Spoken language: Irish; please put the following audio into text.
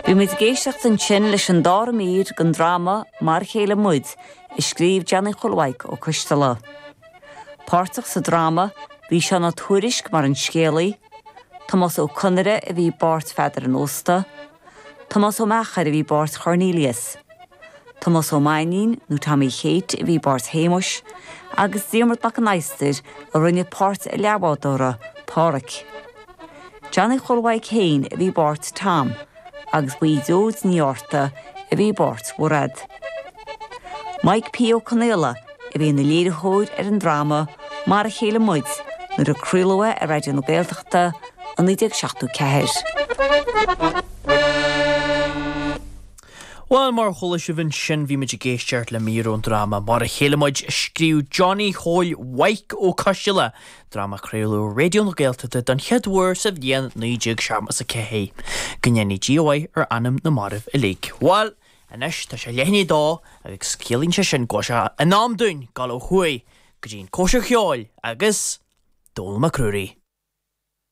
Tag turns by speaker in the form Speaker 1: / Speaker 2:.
Speaker 1: Bhí muid ag éisteacht ansin leis an dara mír den dráma Mar a Chéile Muid a scríobh Johnny Chóil Mhaidhc Ó Coisteala. Páirteach sa dráma bhí Seán Ó Tuairisg mar an scéalaí, Tomás Ó Conaire a bhí i bpáirt Pheadair an Ósta, Tomás Ó Meachair a bhí i bpáirt Chornelius, Tomás Ó Mainnín nó Tommy Chéit a bhí i bpáirt Shéamuis agus Diarmuid Mac an Adhastair a rinne páirt an leathbhádóra, Pádhraic. Johnny Chóil Mhaidhc féin a bhí i bpáirt Tom agus ba í Gearóid Ní Fhátharta a bhí i bpáirt Mhairéad. Mike P. Ó Conaola a bhí ina léiritheoir ar an dráma Mar a Chéile Muid nuair a craoladh é ar Raidió na Gaeltachta i 1974.
Speaker 2: Bhuel, mar a chuala sibh ansin, bhí muid ag éisteacht le mír ón dráma Mar a Chéile Muid a scríobh Johnny Chóil Mhaidhc Ó Coisteala, dráma a craoladh ar Raidió na Gaeltachta don chéad uair sa bhliain 1974. Go ndéana Dia a mhaith ar anam na marbh uilig. Bhuel, anois tá sé leath i ndiaidh a dó agus ciallaíonn sé sin go bhfuil sé in am dúinn dul ó thuaidh go dtí an cóisir cheoil agus Dónall Mac Ruairí.